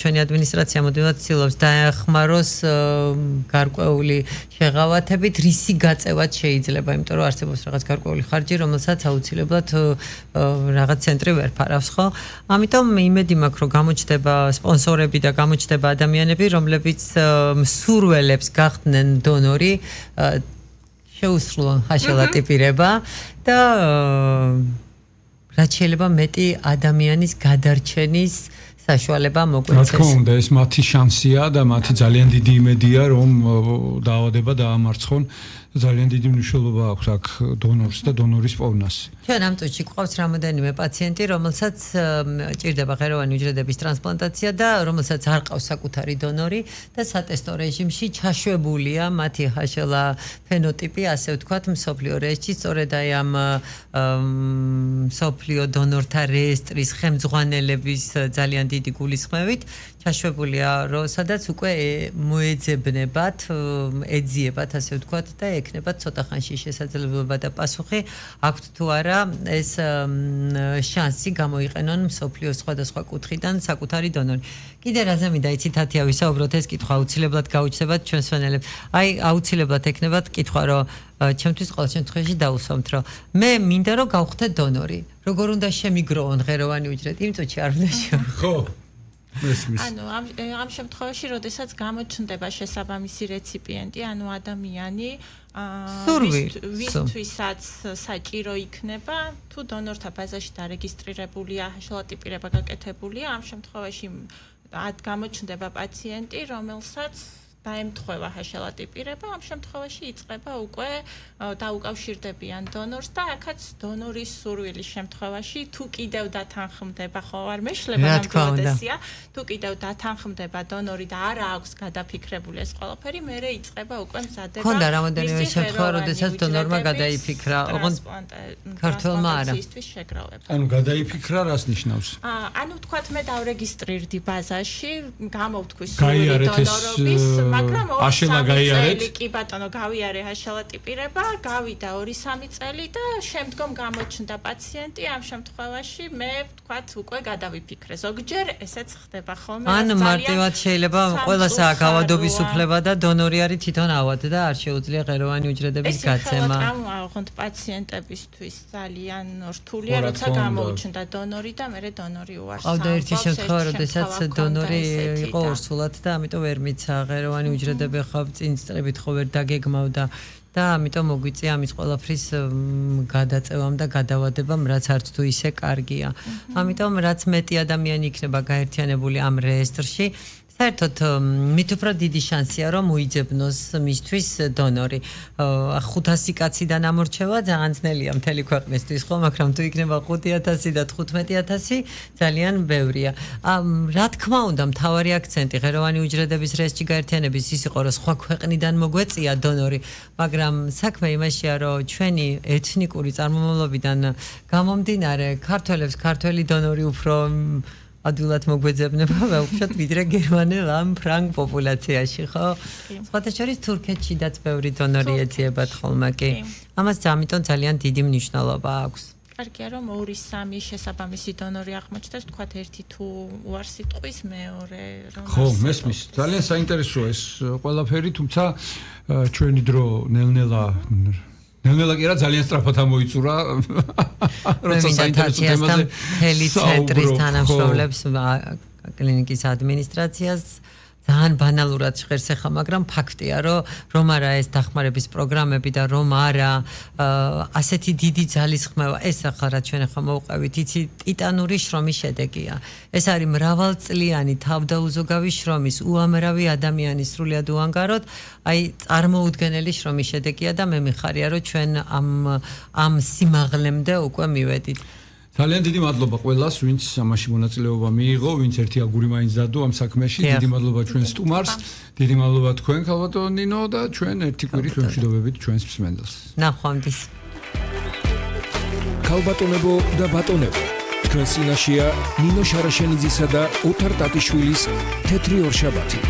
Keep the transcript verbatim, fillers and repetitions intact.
ჩვენი ადმინისტრაცია მუდმივად ცდილობს დაეხმაროს გარკვეული შეღავათებით, რისი გაწევაც შეიძლება, იმიტომ რომ არსებობს რაღაც გარკვეული ხარჯი, რომელსაც აუცილებლად რაღაც ცენტრი ვერ ფარავს, ხო? ამიტომ იმედი მაქვს, რომ გამოჩნდება სპონსორები და გამოჩნდება ადამიანები, რომლებიც მსურველებს გახდნენ დონორი, შეუსრულონ ხაშალატიპირება და რაც შეიძლება მეტი ადამიანის გადარჩენის საშუალება მოგვეცეს. რა თქმა უნდა, ეს მათი შანსია და მათი ძალიან დიდი იმედია, რომ დაავადება დაამარცხონ. ძალიან დიდი მნიშვნელობა აქვს აქ დონორს და დონორის პოვნას. ჩვენ ამ წუთში გვყავს რამოდენიმე პაციენტი, რომელსაც ჭირდება ღეროვანი უჯრედების ტრანსპლანტაცია და რომელსაც არ ყავს საკუთარი დონორი და სატესტო რეჟიმში ჩაშვებულია მათი ჰაშელა ფენოტიპი, ასე ვთქვათ, მსოფლიო რეესტრში, სწორედ აი ამ მსოფლიო დონორთა რეესტრის ხელმძღვანელების ძალიან დიდი გულისხმევით ჩაშვებულია, რომ სადაც უკვე მოეძებნებათ, ეძიებათ, ასე ვთქვათ და ეკნებათ ცოტა ხანში შესაძლებლობა და პასუხი აქვთ თუ არა ეს შანსი გამოიყენონ მსოფლიოს სხვადასხვა კუთხიდან საკუთარი დონორი. კიდე რაზე მინდა იცით ათია ვისაუბროთ, ეს კითხვა აუცილებლად გაუჩნდებათ ჩვენს მენელებს. აი აუცილებლად ეკნებათ კითხვა, რომ ჩემთვის ყოველ შემთხვევაში დაუსვამთ, რომ მე მინდა რომ გავხდე დონორი. როგორ უნდა შემიგროვონ ღეროვანი უჯრედი? იმ წუთში არ უნდა შემიგროვონ. ხო. ანუ ამ ამ შემთხვევაში, როდესაც გამოჩნდება შესაბამისი რეციპიენტი, ანუ ადამიანი, ვისთვისაც საჭირო იქნება, თუ დონორთა ბაზაში დარეგისტრირებულია, ჰაშალატიპირება გაკეთებულია, ამ შემთხვევაში გამოჩნდება პაციენტი, რომელსაც დაემთხვევა ჰაშალატიპირება, ამ შემთხვევაში იწყება უკვე დაუკავშირდებიან დონორს და აქაც დონორის სურვილის შემთხვევაში თუ კიდევ დათანხმდება, ხო არ მეშლება ნამდვილადესია, თუ კიდევ დათანხმდება დონორი და არა აქვს გადაფიქრებული ეს ყველაფერი, მერე იწყება უკვე მზადება. ხონდა რამოდენიმე შემთხვევა, როდესაც დონორმა გადაიფიქრა, ოღონდ ქართველმა არა. ანუ გადაიფიქრა რას ნიშნავს? ანუ თქვათ მე დავრეგისტრირდი ბაზაში, გამოვთქვი სურვილი დონორობის, მაგრამ აშელა გაიარეთ? კი ბატონო, გავიარე ჰაშალატიპირება, გავიდა ორი სამი წელი და შემდგომ გამოჩნდა პაციენტი, ამ შემთხვევაში მე ვთქვათ უკვე გადავიფიქრე. ზოგჯერ ესეც ხდება ხოლმე. ან მარტივად შეიძლება ყველასაა გავადობის უფლება და დონორი არის თვითონ ავად და არ შეუძლია ღეროვანი უჯრედების გაცემა. ეს ხელა ოღონდ პაციენტებისთვის ძალიან რთულია, როცა გამოუჩნდა დონორი და მერე დონორი უარს. ყავდა ერთი შემთხვევა, როდესაც დონორი იყო ორსულად და ამიტომ ვერ მიცა ღეროვანი უჯრედები ხავ წინ წრებით ხო ვერ დაგეგმავდა და ამიტომ მოგვიწია ამის ყველაფრის გადაწევამ და გადავადებამ, რაც არც თუ ისე კარგია. ამიტომ რაც მეტი ადამიანი იქნება გაერთიანებული ამ რეესტრში, საერთოდ მით უფრო დიდი შანსია რომ მოიძებნოს მისთვის დონორი. ხუთასი კაციდან ამორჩევა ძალიან ძნელია მთელი ქვეყნისთვის, ხო, მაგრამ თუ იქნება ხუთი ათასი და თხუთმეტი ათასი ძალიან ბევრია. რა თქმა უნდა, მთავარი აქცენტი ღეროვანი უჯრედების რეესტრში გაერთიანების ის იყო, რომ სხვა ქვეყნიდან მოგვეწია დონორი, მაგრამ საქმე იმაშია, რომ ჩვენი ეთნიკური წარმომავლობიდან გამომდინარე, ქართველებს ქართველი დონორი უფრო ადვილად მოგვეძებნება, ვეუბნოთ, ვიდრე გერმანელ ამ ფრანგ პოპულაციაში, ხო? სხვათა შორის თურქეთშიდაც ბევრი დონორი ეძიებათ ხოლმე კი. ამას ამიტომ ძალიან დიდი მნიშვნელობა აქვს. კარგია რომ ორი სამი შესაბამისი დონორი აღმოჩნდეს, თქვათ ერთი თუ უარს იტყვის, მეორე რომ ხო, მესმის. ძალიან საინტერესოა ეს ყველაფერი, თუმცა ჩვენი დრო ნელ-ნელა ნელ-ნელა კი არა ძალიან სწრაფად ამოიწურა. როცა საინტერესო თემაზე მთელი ცენტრის თანამშრომლებს, კლინიკის ადმინისტრაციას ძალიან ბანალურად ჟღერს ეხა, მაგრამ ფაქტია, რომ რომ არა ეს დახმარების პროგრამები და რომ არა ასეთი დიდი ძალისხმევა, ეს ახლა რაც ჩვენ ახლა მოვყევით, იცი ტიტანური შრომის შედეგია. ეს არის მრავალწლიანი თავდაუზოგავი შრომის, უამრავი ადამიანის სრულიად უანგაროდ, აი წარმოუდგენელი შრომის შედეგია და მე მიხარია, რომ ჩვენ ამ ამ სიმაღლემდე უკვე მივედით. ძალიან დიდი მადლობა ყველას, ვინც ამაში მონაწილეობა მიიღო, ვინც ერთი აგური მაინც დადო ამ საქმეში. დიდი მადლობა ჩვენ სტუმარს, დიდი მადლობა თქვენ ქალბატონო ნინო და ჩვენ ერთი კვირით ვემშვიდობებით ჩვენს მსმენელს. ნახვამდის. ქალბატონებო და ბატონებო, თქვენ წინაშეა ნინო შარაშენიძისა და ოთარ ტატიშვილის თეთრი ორშაბათი.